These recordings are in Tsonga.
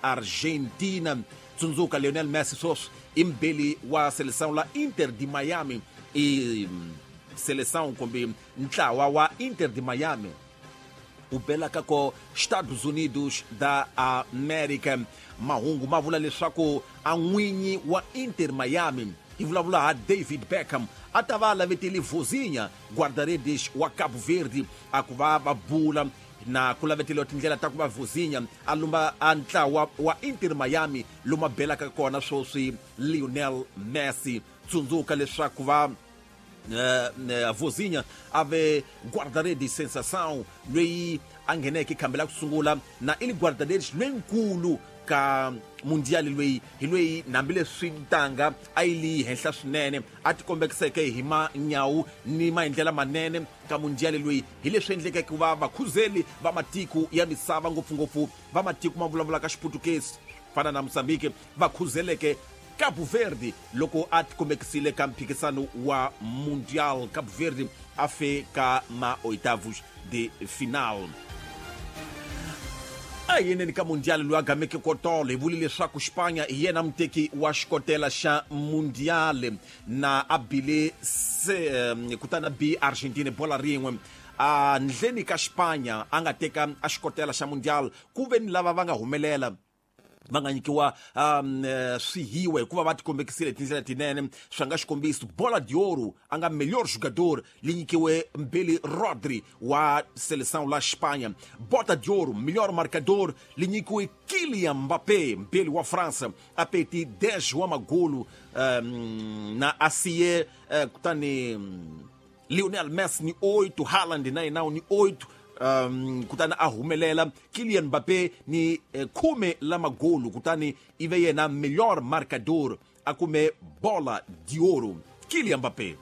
Argentina. Tsundzuka Lionel Messi sweswi i mubeli wa seleção la Inter de Miami, i seleção kumbe ntlawa wa Inter de Miami u belaka ko Estados Unidos da América. Mahungu ma vula leswaku a n'winyi wa Inter Miami, hi vulavula ha David Beckham, a ta va a lavetele Vozinha, guarda-redes wa Cabo Verde, a ku va va bula na ku laveteliwa tindlela ta ku va Vozinha a lumba a ntlawa wa Inter Miami lomu a belaka kona sweswi Lionel Messi. Tsundzuka leswaku va Vozinha a ve guarda-redes sensação loyi a ngheneke khambi la ku sungula na i li guarda-redes loyinkulu ka mundial loyi, hi loyi hambileswi ntanga a yi li henhla swinene a tikombekiseke hi manyawu ni maendlela manene ka mundial loyi, hi leswi endlekeke ku va vakhuzeli va matiko ya misava, ngopfungopfu va matiko ma vulavulaka Xiputukezi fana na Mozambique, va khuzeleke Cabo Verde loko a tikombekisile ka mphikisano wa mundial. Cabo Verde a fe ka ma oitavos de final. A yeneni ka mundial loyi a gameke kotolo, hi vule leswaku Xipanya hi yena muteki wa xikotela xa mundial na a bile se kutani a bi Argentina bola rin'we. A ndleni ka Xipanya a nga teka a xikotela xa mundial, ku ve ni lava va nga humelela va nga nyikiwa swihiwa hikuva va tikombekisile tindlela tinene. Swi nga xikombiso, Bola de Ouro, a nga melhor jogador, li nyikiwe mbeli Rodri wa seleção la Espanha. Bota de Ouro, melhor marcador, li nyikiwe Kylian Mbappé, mbeli wa França, a peti 10 wa magolu na asiye kutani Lionel Messi ni 8, Haaland na yena ni 8, kutani a humelela Kylian Mbappé ni khume la magolu, kutani ive yena melhor marcador, a kume Bola de Ouro Kylian Mbappé.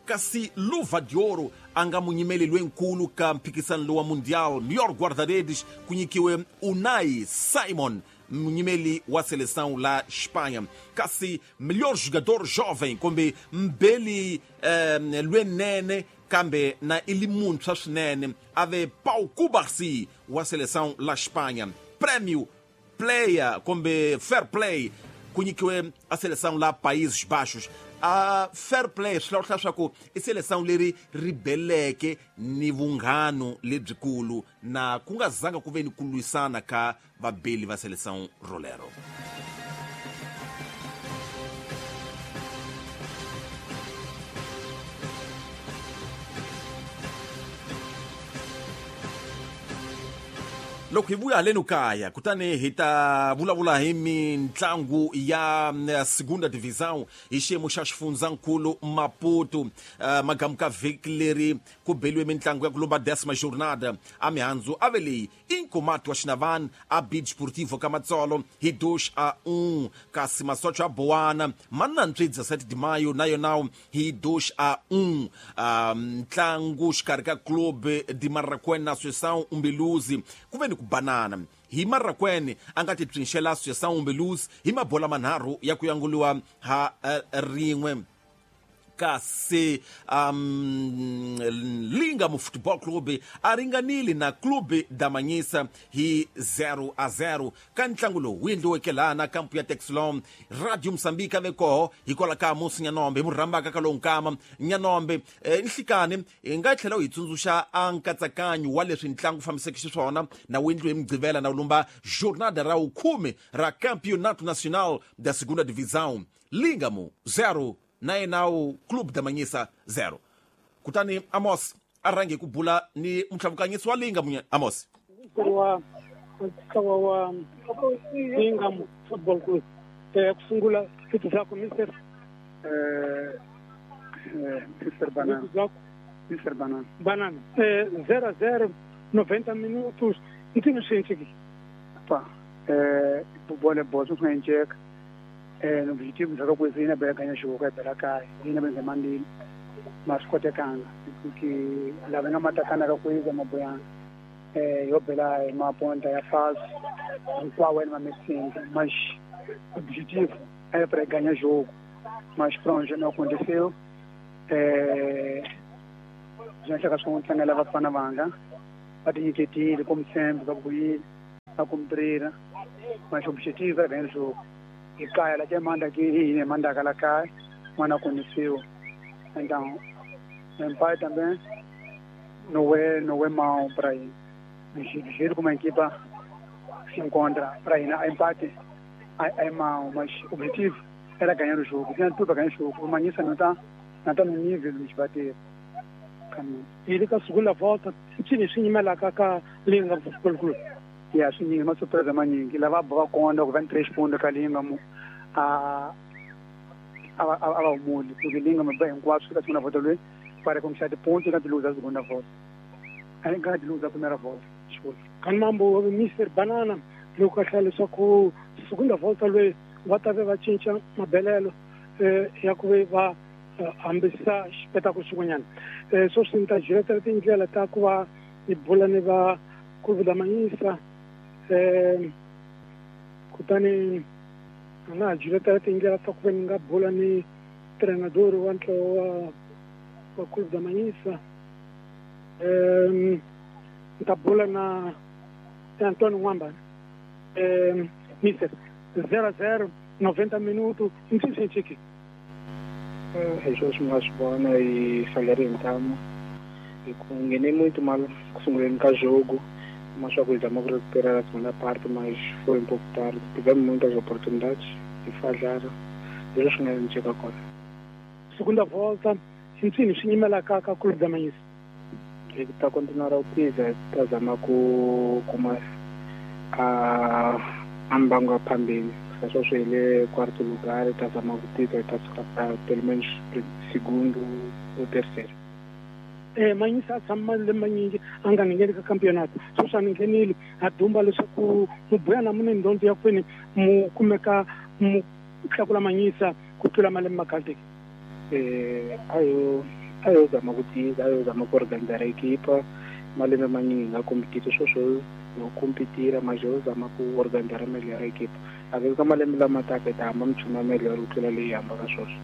Kasi Luva de Ouro, a nga munyimeli loyinkulu ka mphikisano lowa mundial, melhor guarda-redes, ku nyikiwe Unai Simon, munyimeli wa seleção la Espanha. Kasi melhor jogador jovem kumbe mbeli lwenene kambe na i li muntshwa swinene, a ve Pau Cubarsí wa seleção la Espanha. Prêmio player kumbe fair play ku nyikiwe a seleção la Países Baixos. A fair play swi hlawula leswaku i seleção leri ri beleke ni vunghano lebyikulu na ku nga zanga ku ve ni ku lwisana ka vabeli va seleção rolero. Loko hi vuya haleni kaya, kutani hi ta vulavula hi mitlangu ya segunda divisão hi xiyimo xa xifundzankulu Maputo. Magamu ka vhiki leri ku beliwe mitlangu ya ku lumba décima jornada. A mihandzu a ve leyi: Inkomati wa Xinavani a bi Desportivo ka Matsolo hi 2-1, kasi Masocho ya Bowana ma nantswe 17 de Maio na yona hi 2-1. Ntlangu xikarhi ka Club de Marraquene na Associação Umbeluzi ku ve ni ku banana, hi Marraquene a nga ti psinxela Associação Umbeluzi hi mabola manharhu ya ku yanguliwa ha rin'we. Kasi Lingam Football Club a ringanile na Club Damanyisa hi 0-0 ka ntlangu lowu wu endliweke laha na kampu ya Texlon. Radio Mozambique a ve koho hikwalaho ka Amos Nyanombe, hi mu rhambaka ka lowu nkama Nyanombe. Nhlikani hi nga tlhela u hi tsundzuxa a nkatsakanyo wa leswi ntlangu wu fambiseke xiswona na wu endliwe hi Mugqivela na wu lumba jornada ra wukhume ra Campeonato Nacional da Segunda Divisão, Lingamo 0 na yena wu Club Damanyisa 0? Kutani Amos a rhange hi ku bula ni mutlhavukanyisi wa Lingam, Amos. Wa ntlawa wa Lingam Football Club, ku sungula vito zako, Mr. Mr Banana. Vito zako? Mr Banana. Banana. 0-0, 90 minutos, ntini swi endlekile? Pa, bole bola swi nga endleka. Objetivo za kwezi ina bela ganha jogo ya bela kaya ina bela mandili mas kotekanga que lava nga matakana ka kwezi maboyana yo bela maponta ya fase hinkwawo ena mamesinga, mas objetivo era para ganhar jogo, mas pronto, não aconteceu. Já chega só um tlangela vafana vanga va tinyiketile como sempre, va vuyile. a cumprir, mas o objetivo era ganhar o jogo. E cai, ela que manda aqui, e manda aquela cai, mas não aconteceu. Então, o empate também não é mau para ir. Do jeito como a equipa se encontra para ir, o empate é mau, mas o objetivo era ganhar o jogo. Tinha tudo para ganhar o jogo. O Manhiça não está no nível de nos bater. E ele com a segunda volta, tinha lá com a Futebol Clube. E assim, uma surpresa maninha, que levava a conta, com 23 pontos com a Linga, a o mundo, porque Linga me bem quatro da segunda volta para conquistar de pontos e de luz a segunda volta. Aí ganha de luz a primeira volta. Desculpa. Kanambo, Mr. Banana, Lucas só com segunda volta, ele vai ter chincha, mabelelo, e a coisa vai ambisa espetáculo segundo. Só se está direto tem que ela tá com a bola neva curva da Manhiça. Kutani na direto tem que ela tá com a bola ni treinador o anto a curva da Manhiça. Tá bola na Antônio Wamba. Mister 0-0, 90 minutos, não sei se aqui. Rejoice Mashbona e falharentamo. E com muito mal com o jogo, mas só cuidamos de recuperar a segunda parte, mas foi um pouco tarde. Tivemos muitas oportunidades e falharam. Eu acho que não chega agora. Segunda volta, sim, sim, com a Clube da Manhiça. Ele está a continuar a utilizar, está a com a ambango phambili. Só ele quarto lugar, está a título, está a pelo menos segundo ou terceiro. Manhiça samale manyingi anga ngene ka campeonato. Só ningenile adumba leswaku mubuyana mune ndonto ya kwini mu kumeka mu tlakula Manhiça ku tlula malembe makhale. Ayo zama kutiza, ayo zama ku organizar a equipa, malembe manyingi nga competita sweswo yo competira, mas eu zama ku organizar melhor a equipa. Às malembe lama taka ta hamba mchuma melhor ku tlula leyi hambaka sweswo.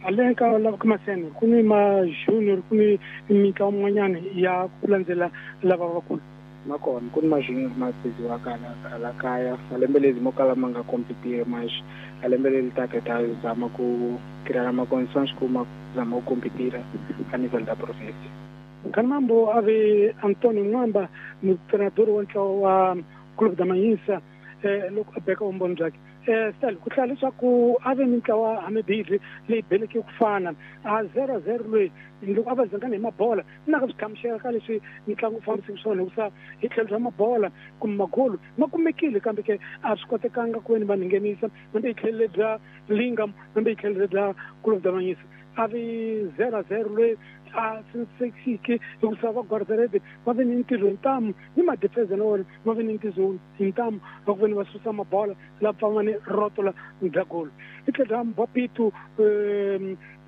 Além ka lava kumasene ku ni ma junior ku ni mitlawa min'wanyana ya ku landzela lava vakulu makona ku ni ma junior ma biziwaka ala kaya malembe lezi mo kala ma nga competire, mas a lembe leri taka ta zama ku criar ma condições ku ma zama ku competira a nível da província. Kanambo ave Antônio Mwamba treinador wa ntlawa wa Clube da Manhiça loko a beka vumbhoni byakhe. Stel ku hlaya leswaku a ve mintlawa hamibirhi leyi beleke ku fana a 0-0 loyi loko a va zangana hi mabola na ka swi hlamusela ka leswi mitlangu wu fambiseke swona hikusa hi tlhelo bya mabola kumbe magolo ma kumekile kambe ke a swi kotekanga ku veni va nghenisa hambi hi tlhelo bya Lingam hambi hi tlhelo bya Clube da Manhiça a vi 0-0 loyi a sexike hikusa va guardarede va ve ni ntirho hi ntamu ni madefense na wona va ve ni ntirho hi ntamu va ku veni va susa mabola la pfama ni rotola bya golo hi tlhelo bya Mbapitu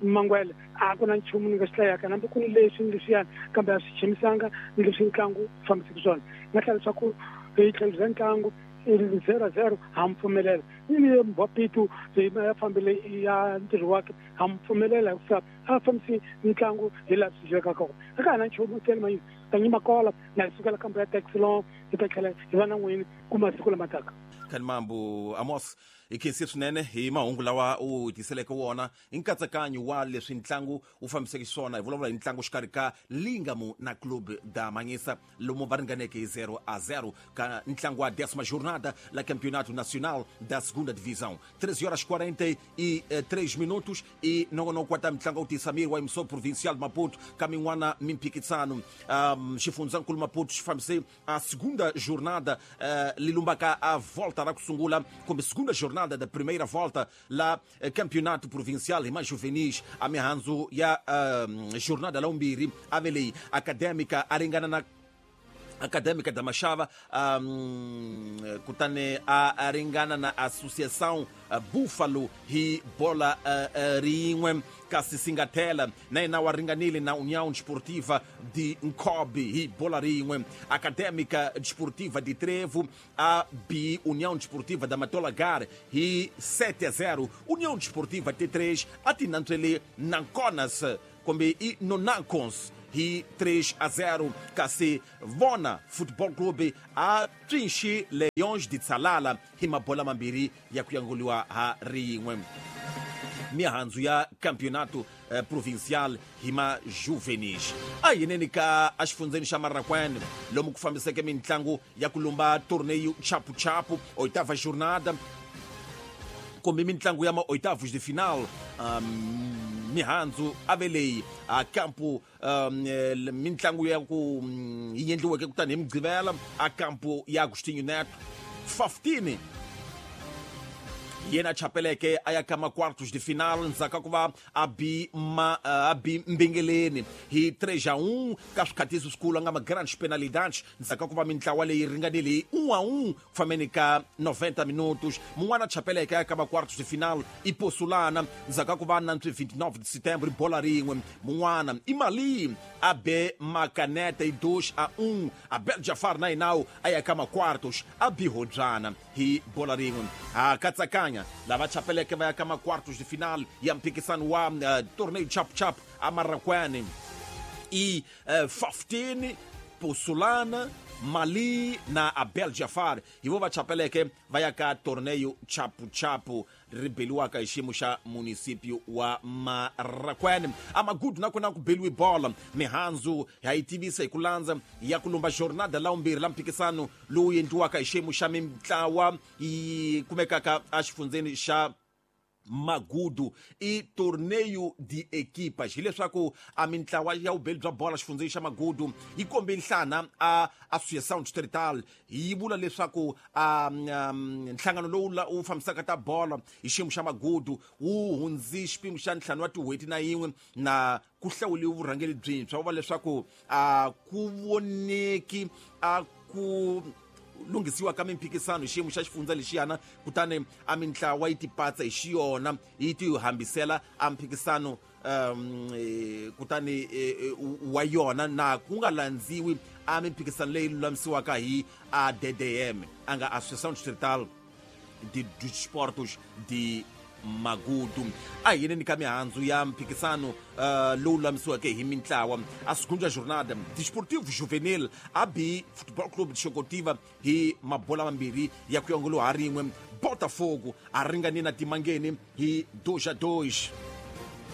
Mangwele a ku na nchumu ni nga xi hlayaka hambi ku ni leswi ni leswiyani kambe a swi chimisanga ni leswi ntlangu fambiseke swona nga hlaya leswaku hi tlhelo bya ntlangu 0-0 ha mi pfumelela ni Mbapitu ya fambile ya ntirho wakhe ha mi pfumelela hikusa a fambisi ntlangu hi laha swi dyekaka kona a ka ha na nchumu tele Manhiça tanyima kola na hi sukela kambe ya Texlon hi ta tlhela hi va na n'wini ku masiku lama taka. Kanambo Amos hi khensi swinene hi mahungu lawa u tiseleke wona hi nkatsakanyo wa leswi ntlangu wu fambiseke swona. Hi vulavula hi ntlangu xikarhi ka Lingamu na Clube da Manhiça lomu va ringaneke hi 0-0 ka ntlangu wa 10ª jornada la Campeonato Nacional da Segunda Divisão. 13h43 minutos e nongonoko wa ta mitlangu wu tisa miri wa emissor provincial de Maputo ka min'wana mimphikisano. Xifundzankulu Maputo xi fambise a segunda jornada lilumbaka a volta ra ku sungula kumbe segunda jornada da primeira volta la campeonato provincial hi majuvenis a mihandzu ya jornada la vumbirhi a ve leyi Acadêmica a ringana na Acadêmica da Machava, kutani a ringana na Associação Búfalo hi bola rin'we kasi Singatela na yena wa ringanile na União Desportiva de Nkobe hi bola rin'we. Acadêmica Desportiva de Trevo a B União Desportiva da Matolagar hi 7-0. União Desportiva T3 a tinantswele Nanconas kumbe i Nonacons hi 3-0, kasi Vona Football Club a tswinxi Leões de Tsalala hi mabola mambirhi ya ku yanguliwa ha rin'we. Mihandzu ya Campeonato Provincial hi ma Juvenis. A yineni ka exifundzeni xa Marraquene, lomu ku fambiseke mintlangu ya ku lumba Torneio Chapu Chapu oitava jornada, kumbe mintlangu ya ma oitavos de final. Mihandzu ave leyi a campo mintlangu ya ku yi endliweke kutani hi Mugqivela a campo ya Agostinho Neto. 15 yena chapeleke a ya ka ma quartos de final ndzhaku ka ku va a bi ma a bi Mbingeleni hi 3-1 ka swikhatisi swikulu, a nga ma grandes penalidades, ndzhaku ka ku va mintlawa leyi ringanile hi 1-1 ku fambeni ka 90 minutos. Mun'wana chapeleke a ya ka ma quartos de final i Posulana, ndzhaku ka ku va nantswi 29 de setembro hi bola rin'we. Mun'wana i Mali, a be Makanete hi 2-1. Abel Jafar na yinawu a ya ka ma quartos, a bi Hobyana hi bola rin'we. Ha katsakanya lava chapeleke va ya ka ma quartos de final ya mphikisano wa Torneio Chap Chap a Marraquene i 15, Posulana, Mali na Abel Jafar, hi vo va chapeleke va ya ka Torneio Chapu Chapu ri beliwaka hi xiyimo xa municipio wa Marraquene. A Magudu nakona ku beliwi bola. Mihandzu ha yi tivisa hi ku landza ya ku lumba jornada la vumbirhi la mphikisano lowu endliwaka hi xiyimo xa mintlawa yi kumekaka exifundzeni xa Magudu i Torneio de Equipas, hileswaku a mintlawa ya vubeli bya bola xifundzeni xa Magudu yi kombe nhlana a Associação Distrital, yi vula leswaku a nhlangano lowu wu fambisaka ta bola hi xiyimo xa Magudu wu hundzi xipimo xa 5 wa tin'hweti na yin'we na ku hlawuliwe vurhangeri byintshwa, va leswaku a ku voneki a ku lunghisiwa ka mimphikisano hi xiyimo xa xifundza lexiyana, kutani a mintlawa yi tipatsa hi xiyona yi ti hambisela a mphikisano kutani wa yona, na ku nga landziwi a mimphikisano leyi lulamisiwaka hi a DDM, a nga Associação Distrital de Desportos de Magudu. A hi yeneni ka mihandzu ya mphikisano lowu lulamisiweke hi mintlawa. A segunda jornada, Desportivo Juvenil a bi Football Club de Xokotiva hi mabola mambirhi ya ku yongolo ha rin'we. Botafogo a ringani na Timangeni hi 2-2.